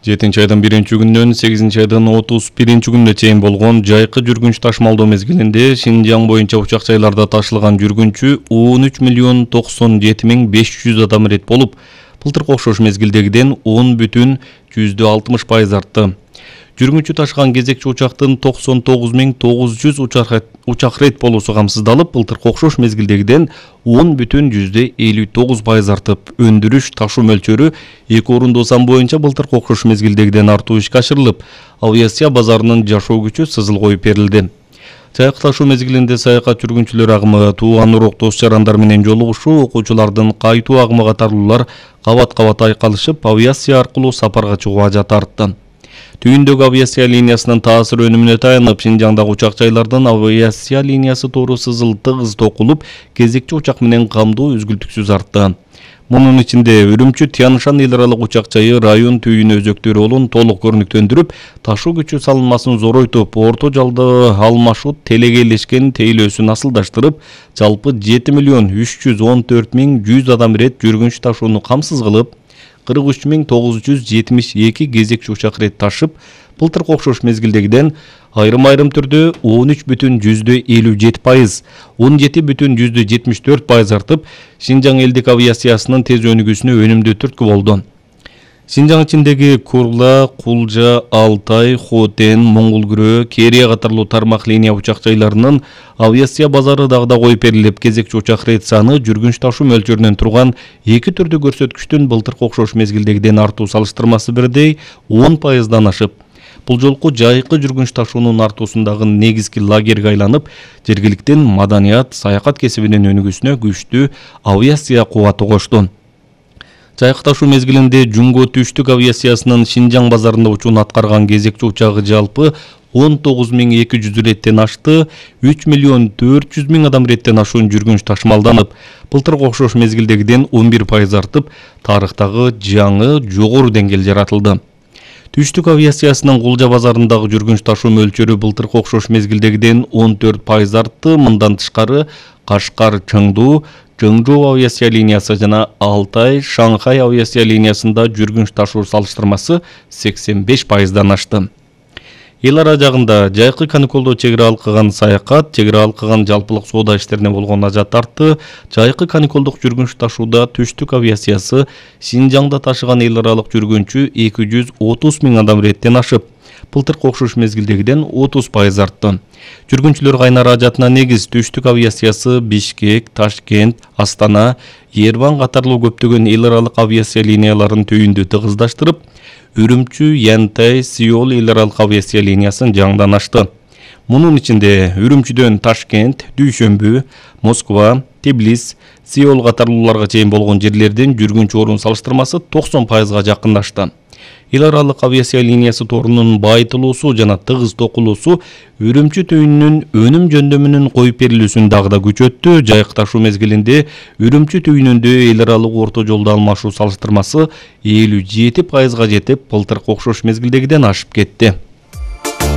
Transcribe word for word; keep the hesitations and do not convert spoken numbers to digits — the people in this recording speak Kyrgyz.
жетинчи айдын биринчи күнүнөн сегизинчи айдын отуз биринчи күнүнө чейин болгон жайкы жүргүнч ташмалдоо мезгилинде Шинжаң боюнча учак жайларда ташылган жүргүнчү он үч миллион токсон жети миң беш жүз адам ирет болуп, былтыркы окшош мезгилдегиден он бүтүн жүздө алтымыш пайыз артты. Жүргүнчү ташыган кезекчи учактын токсон тогуз миң тогуз жүз учак рейд болуусу камсыздалып, былтыркы окшош мезгилдегиден он бүтүн жүздө элүү тогуз пайыз артып, өндүрүш ташуу мөлчөрү эки орундуу сан боюнча былтыркы окшош мезгилдегиден артуу ишке ашырылып, авиация базарынын жашоо күчү сызыл коюп берилди. Жайкы ташуу мезгилинде саякат жүргүнчүлөр агымы, тууган урок дос-жарандар менен жолугушуу, окуучулардын кайтуу агымы катарлуулар кабат-кабат айкалышып, авиация аркылуу сапарга чыгуу ажаты артты. Түйүндөгү авиация линиясынын таасир өнүмүнө таянып, Шинжаңдагы учак жайлардын авиация линиясы тору сызыл тыгыз токулуп, кезекчи учак менен камдоо үзгүлтүксүз артты. Мунун ичинде Үрүмчү Тянышан эл аралык учак жайы район түйүнү өзөктөрү болон толук көрүнүктөндүрүп, ташуу күчү салынмасын зоройтуп, орто жалды алмашут телегейлешкен тейлөөсүн асылдаштырып, жалпы жети миллион үч жүз он төрт миң жүз адам ирет жүргүнч ташууну камсыз кылып, кырк үч миң тогуз жүз жетимиш эки кезекчи учак рейд ташып, былтыркы окшош мезгилдегиден айрым-айрым түрдө он үч бүтүн жүздө элүү жети пайыз, он жети бүтүн жүздө жетимиш төрт пайыз артып, Шинжаң элдик авиациясынын тез өнүгүүсүнө өнүмдүү түрткү болду. Шинжаң ичиндеги Курла, Кулжа, Алтай, Хотен, Моңгулкүрөө, Керия катарлуу тармак линия учак жайларынын авиация базары дагы да коюп берилип, кезекчи учак рейд саны жүргүнч ташуу мөлчөрүнөн турган эки түрдүү көрсөткүчтүн былтыркы окшош мезгилдегиден артуу салыштырмасы бирдей он пайыздан ашып, бул жолку жайкы жүргүнч ташуунун артуусундагы негизги лагерге айланып, жергиликтин маданият, саякат кесибинин өнүгүүсүнө күчтүү авиация кубаты кошту. Жайкы ташуу мезгилинде Жумго түштүк авиациясынын Шинжаң базарында учууну аткарган кезекчи учагы жалпы он тогуз миң эки жүз иреттен ашты, үч миллион төрт жүз миң адам иреттен ашуун жүргүнч ташымалданып, былтыркы окшош мезгилдегиден он бир пайыз артып, тарыхтагы жаңы жогору деңгээл жаратылды. Түштүк авиациясынын Кулжа базарындагы жүргүнч ташуу мөлчөрү былтыркы окшош мезгилдегиден он төрт пайыз артты. Мындан тышкары Кашкар Чыңдуу, Чыңжоо авиация линиясы жана Алтай Шанхай авиация линиясында жүргүнч ташуу салыштырмасы сексен беш пайыздан ашты. Эл ара жагында жайкы каникулдо чек ара алкыган саякат, чек ара алкыган жалпылык соода иштерине болгон ажат артты. Жайкы каникулдук жүргүнч ташууда Түштүк авиациясы Шинжаңда ташыган эл аралык жүргүнчү эки жүз отуз миң адам иреттен ашып, былтыркы окшош мезгилдегиден отуз пайыз артты. Жүргүнчүлөр кайнара ажатына негиз Түштүк авиациясы Бишкек, Ташкент, Астана, Ереван катарлуу көптөгөн эл аралык авиация линияларын түйүндү тыгыздаштырып, Үрүмчү, Янтай, Сеул эл аралык авиация линиясын жаңдан ачты. Мунун ичинде Үрүмчүдөн Ташкент, Дүйшөмбү, Москва, Тбилис, Сеул катарлууларга чейин болгон жерлерден жүргүнч орун салыштырмасы токсон пайызга жакындашты. Эл аралык авиация линиясы торунун байытылуусу жана тыгыз токулуусу Үрүмчү түйүнүнүн өнүм жөндөмүнүн коюп берилүүсүн дагы да күчөттү. Жайкы ташуу мезгилинде Үрүмчү түйүнүндө эл аралык орто жолду алмашуу салыштырмасы элүү жети пайызга жетип, былтыркы окшош мезгилдегиден ашып кетти.